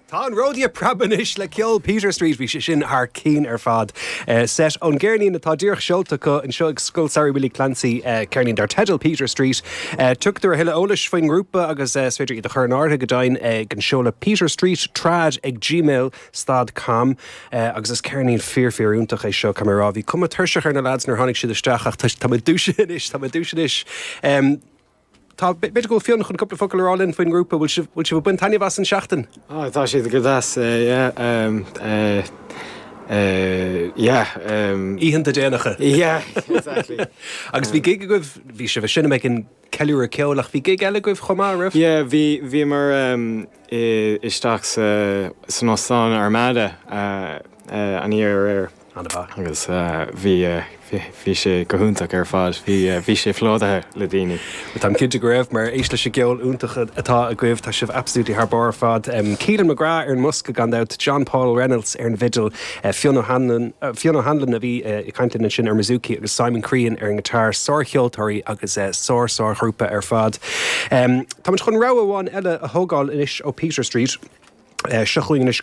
Tá an ródaí ag preabadh anois le ceol Peter Street, bhí sé sin thar cinn ar fad. Seit ón gceirnín atá díreach seolta acu anseo ag Scoil Samhraidh Willie Clancy, ceirnín dar teideal Peter Street. Tugtar a thuilleadh eolais faoin ngrúpa agus is féidir iad a chur in áirithe go deimhin ag an seoladh peterstreettrad ag gmail stad com agus is ceirnín fíor fíor iontach é seo, caithfidh mé a rá. Bhí cuma tuirseach ar na lads nuair a tháinig siad isteach ach tá mé dúisithe anois, tá mé dúisithe anois. Tá, b'fhéidir go bhfuil Fionn chun cúpla focal a rá linn faoin ngrúpa. Bhfuil sibh, bhfuil sibh ag baint taitneamh as an seachtain? Ah, tá siad go deas, yeah, yeah. Oícheanta déanacha. Yeah, exactly. Agus bhí gig agaibh, bhí sibh ag seinm ag an ceiliúradh ceoil ach bhí gig eile agaibh chomh maith, raibh? Yeah, bhí, bhíomar isteach sa, san Óstán Armada an oíche aréir. An-mhaith. Agus bhí, bhí sé go hiontach ar fad. Bhí, bhí sé plódaithe le daoine. Bhuel, táim cinnte go raibh, mar éist leis an gceol iontach atá agaibh, tá sibh absolutely thar barr ar fad. Keelan McGrath ar an mbosca gan dabht, John Paul Reynolds ar an bhfidil, Fionn O'Hanlon, Fionn O'Hanlon a bhí ag caint linn ansin ar an mbouzouki agus Simon Crean ar an ngiotár. Sárcheoltóirí agus sár, sárghrúpa ar fad. Táimid chun rogha amháin eile a thógáil anois ó Peter Street. Seo chugainn anois.